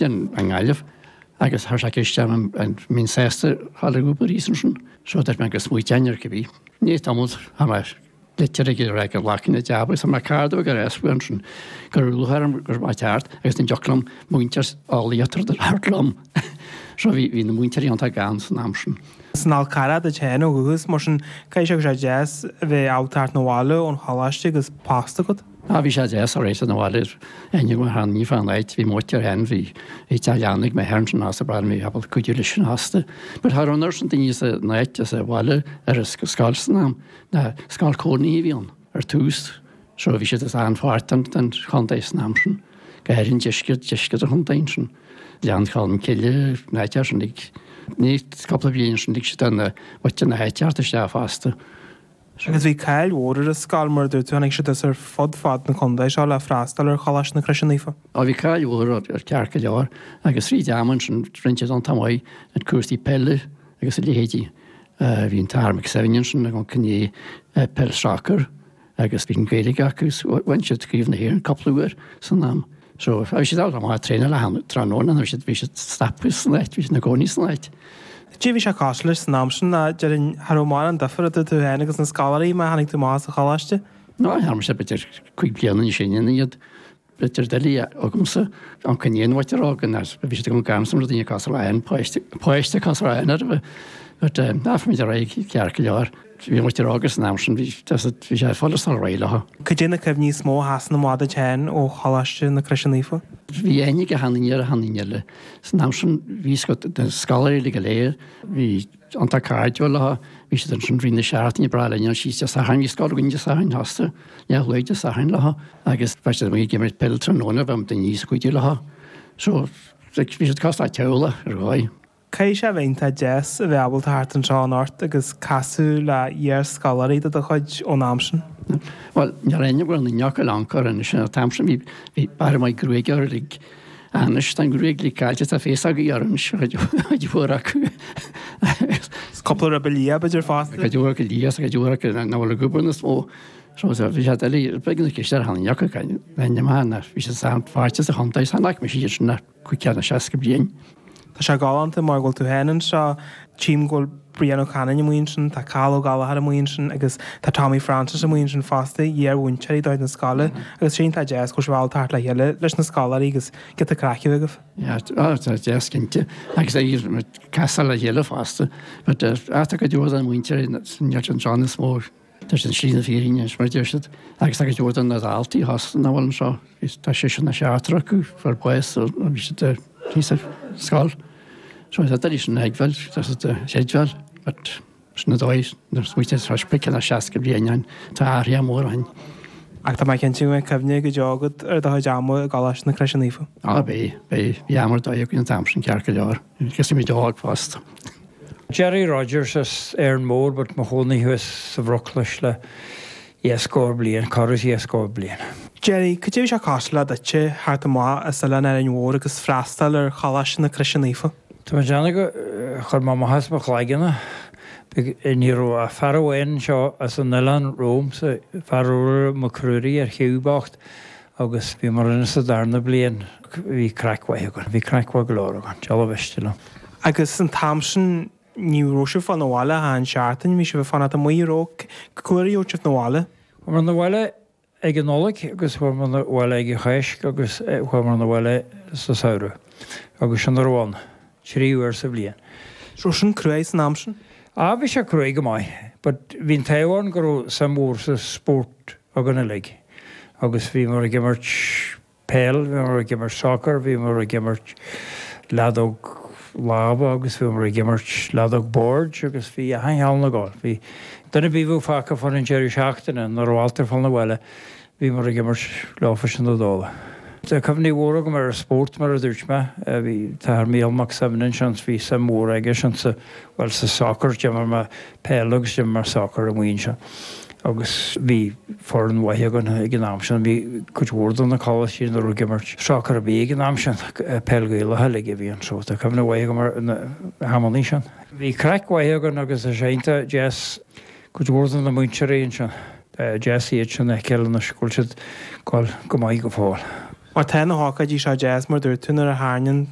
I nGaillimh agus chuir sé ceist orm an mbeinn sásta dhul ag obair thíos ansin. So dúirt mé go smaointeoinn air cibé. I ndiaidh tamaill fuair mé litir aige ag rá gur ghlacfainn an jab agus fuair mé cárta uaidh ar ais ansin go raibh lúcháir orm go raibh mé ag teacht agus an dtiocfadh liom múinteoir eolaíochta a thabhairt liom. So bhí bhí na múinteoirí iontach gann san am sin. As an Fhál Carrach duit féin ó dhúchas, mar sin caithfidh sé go raibh sé deas a bheith ábalta teacht 'na bhaile ón choláiste agus post agat. Ah bhí sé deas alright sa bhaile aithne agam ar shean ní fán áit bhí m'uachtar féin bhí bhí teach leanna ag m'athair ansin fosta ba bhí ábalta cuidiú leis sin fosta. But cha raibh an oiread sin daoine san áit sa bhaile ar an scoil san am ná scoil cónaithe a bhí ann ar tús so bhí siad as an-pháirt den den chontae san am sin go háirithe an deisceart deisceart an chontae ansin. Gleann Cholm Cille an áit sin ag ní cúpla bliain ansin lig siad an mhuintir na háite theacht isteach fosta. Agus bhí cáil mhór ar an scoil, mar a dúirt tú, tháinig siad as ar fud fad na contae seo le freastal ar Choláiste na Croise Naofa. Á bhí cáil mhór air ceart go leor agus fríd am ansin rinne siad iontach maith in cúrsaí peile agus a leithéidí. Bhí an tAthair McSevin ansin ag amharc i ndiaidh peil soccer agus bhí an Ghaeilge acu so bhain siad Craobh na hÉireann cúpla uair san am. So bhí siad ábalta amach traenáil achan tráthnóna bhí siad bhí siad stoptha san áit, bhí siad ina gcónaí san áit. Cad é bhí sé cosúil leis san am sin ná déarfainn cha raibh mórán difear idir tú féin agus na scoláirí má tháinig tú amach as an choláiste? Ná dhearna mise b'fhéidir 5 bliana níos sine ná iad. B'fhéidir doiligh agamsa an coinne an mhuintir óg ná bhí siad agam gan sam rudaí cosúil le aon páiste páiste cosúil le aon ar But ná fuair muid ar aghaidh ceart go leor. Bhí an mhuintir óg san am sin bhí bhí sé follasach réidh leo. Cad é na cuimhní is mó a sheasann amach duit féin ó Choláiste na Croise Naofa? Bhí aithne ag achan duine ar achan duine eile. San am sin bhí na scoláirí uilig go léir, bhí iontach cairdiúil leo, bhí siad ansin rith na seachtaine, breá linn dul síos Dé Sathairn, bhí scoil againn Dé Sathairn fosta, leath luath Dé Sathairn leo agus bheadh siad amuigh ag imirt peil tráthnóna, bheadh daoine níos cuidiú leo. So bhí siad cosúil le teaghlach ar dhóigh. Caithfidh sé a bheith iontach deas a bheith ábalta theacht anseo anocht agus casadh le hiar-scoláirí de do chuid ón am sin. Bhuel, níl aon bhfuil na ndeocail ann anois an t-am sin bhí bhí barra maith gruaige orthu uilig. Anois tá an ghruaig uilig caillte tá féasógaí orthu anois cuid mhór acu. Is cúpla ribe liath b'fhéidir fosta. Cuid mhór acu liath is cuid mhór acu nach bhfuil ag obair níos mó. So bhí sé doiligh beag na ceist ar tháinig acu bhí siad san pháirte sa chontae san ach bhí siad sin 65 bliain. Tá sé galánta mar go bhfuil tú féin anseo, tchím go bhfuil Brian Ó Canainn amuigh ansin, tá Cathal Ó Gallchóir amuigh ansin agus tá Tommy Francis amuigh ansin fosta, iar-mhúinteoirí de chuid na scoile agus sin iontach deas go bhfuil sibh ábalta theacht le chéile leis na scoláirí agus giota craic a bheith agaibh. Yeah, tá deas cinnte agus ag casadh le chéile fosta but tá cuid mhór den mhuintir níl siad anseo níos mó. Tá siad i slí na fírinne anois, mar a deir siad, agus tá cuid mhór de na daltaí fosta nach bhfuil anseo. Tá seisear nó seachtar acu fuair bás nuair a bhí siad thíos ar scoil. So tá doiligh sin a thuigbheáil, tá siad a chreidbheáil, but sin an dóigh nuair a smaoitíonn tú 50 nó 60 bliain ó shin, tá athruithe móra ó shin. Ach tá mé cinnte go mbeidh cuimhne go deo agat ar do chuid ama i gColáiste na Croise Naofa. Á beidh, beidh. Bhí am ar dóigh againn an t-am sin ceart go leor. Agus bhí muid óg fosta. Gerry Rogers as Árainn Mhór but mo chónaí thuas sa Bhruclais le dhá scór bliain, corradh is dhá scór bliain. Gerry, cad é bhí sé cosúil le duitse theacht amach as Oileán Árainn Mhór agus freastal ar Choláiste na Croise Naofa? Tá mé ag déanamh gur chuir mé amach as mo chloigeann é. Ní raibh ach fear amháin anseo as an oileán romhamsa, fear Ruaidhrí Mac Ruairí ar Shiú bocht, Agus bhíomar ann sa darna bliain, bhí craic mhaith againn, bhí craic mhaith go leor againn, dealbh mhiste liom. Agus an t-am sin ní raibh sibh ag fáil na bhaile achan seachtain, bhí sibh ag fanacht amuigh, an raibh? Cá huair a gheobhadh sibh na bhaile? Chuamar na bhaile ag an Nollaig agus chuamar na bhaile ag an Cháisc agus chuamar na bhaile sa samhradh agus sin a raibh ann, 3 uair sa bhliain. Raibh sin cruaidh san am sin? Ah bhí sé cruaidh go maith but bhí an t-ádh orainn go raibh suim mhór sa spórt againn uilig agus bhíomar ag imirt peil, bhíomar ag imirt soccer, bhíomar ag imirt leadóg láimhe agus bhíomar ag imirt leadóg boird agus bhí achan cheann ag gabháil. Bhí duine ar bith a bheadh fágtha fán an deireadh seachtaine nach raibh ábalta fáil na bhaile, bhíomar ag imirt leofa sin na dóla. Tá cuimhní mhóra agam ar an spórt mar a dúirt mé. Bhí t-athair Mícheál Mac Suibhne ansin, bhí suim mhór aige sin sa, bhuel sa soccer, d'imir mé peil agus d'imir mé soccer amuigh ansin agus bhí foireann mhaith againn ag an am sin. Bhí cuid mhór de na coláistí nach raibh ag imirt soccer ar bith ag an am sin, peil Ghaelach uilig a bhí ann so tá cuimhne mhaith agam ar na hamannaí sin. Bhí craic mhaith againn agus tá sé iontach deas cuid mhór de na múinteoirí ansin. Deas iad sin a fheiceáil anois go bhfuil siad ag gabháil go maith go fóill. Mar tá na hócáidí seo deas mar dúirt tú nuair a tharraingíonn.